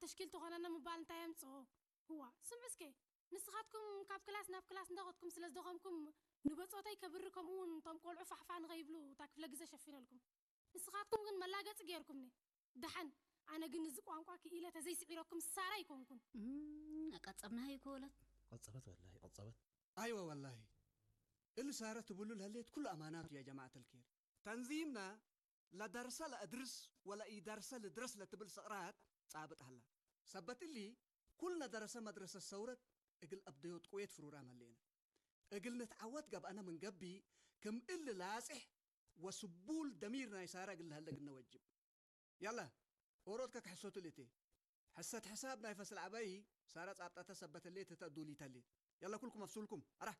ተሽኪል ትኾነና ምባል እንታይ የምፅኦ? ህዋ፣ ስምዑ እስከ። ንስኻትኩም ካብ ክላስ ናብ ክላስ እንዳኸድኩም ስለ ዝደኸምኩም፣ ንበፆተይ ከብሪ፣ ከምኡ እውን እቶም ቆልዑ ፋሕፋሕ ንኸይብሉ እታ ክፍለ ግዜ ሸፊነልኩም። ንስኻትኩም ግን መላገፂ ገይርኩምኒ። ደሓን፣ ኣነ ግን እዚ ቋንቋ ክኢለ ተዘይስዒረኩም ሳራ ኣይኮንኩን። እም፣ ኣቃጸብናሃ ይኮ ወለት። ቀጸበት ወላሂ ቀጸበት። ኣይወ ወላሂ፣ እሊ ሳረ ትብሉ ለሌት ኩሉ ኣማናቱ ያ ጀማዓት ልኬር። ተንዚምና ለደርሰ ለእድርስ ወለኢደርሰ ልድረስ ለትብል ስቕራት ጻብጥ ሃላ። ሰበት እሊ ኩልነ ደረሰ መድረሰ ሰውረት እግል ኣብደዮት ቁዌት ፍሩራ መሌነ። እግል ንትዓወት ገብአነ ምን ገቢ ክም እሊ ላጽሕ ወስቡል ደሚር ናይ ሳራ እግል ለሀለ ግነ ወጅብ። ያላ ኦሮት ከክሕሶት ልእቴ። ሕሰት ሕሳብ ናይ ፈስል ዓባይ ሳራ ጻብጣተ ሰበተሌ ትተዱሊተሌ። ያላ ኩልኩም ኣፍሱልኩም ኣራ።